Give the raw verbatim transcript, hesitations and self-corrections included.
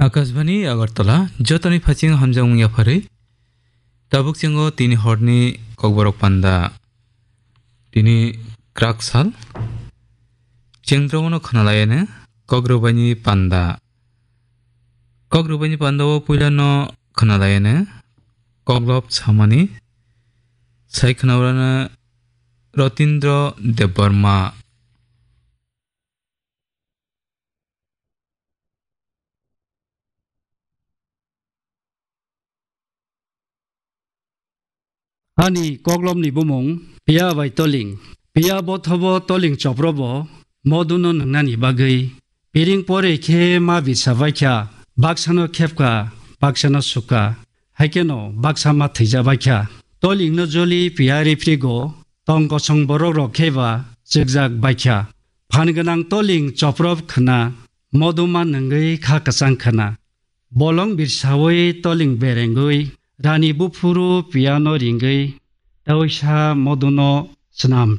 Akashbani Agartala, jotoni phaching hamjakmung yapharwi. Tabuk chengo tini horni kokborok panda. Tini krak sal. Chengdrogono khwnalayane kokrwbaini panda. Kokrwbaini panda o puilano khwnalayane koklop samani sai khwnaurano Rotindro Debbarma. Ani koklopni bumung Piya bai Toling. Piya bothobo Toling choprobo moduno nwngnani bagwi piring pore khe ma bisa baikha, baksano khepka, baksano sukha, haikeno baksa ma thwija baikha. Tolingno joli Piya rifrigo tong kosong borok rok kheba chwkjak baikha. Phan gwnang Toling choprop khna, moduma nwngwi kha kwchang khna. Bolong birsawi Toling berengwi rani buphuru Piyano ringwi tawisa moduno swnam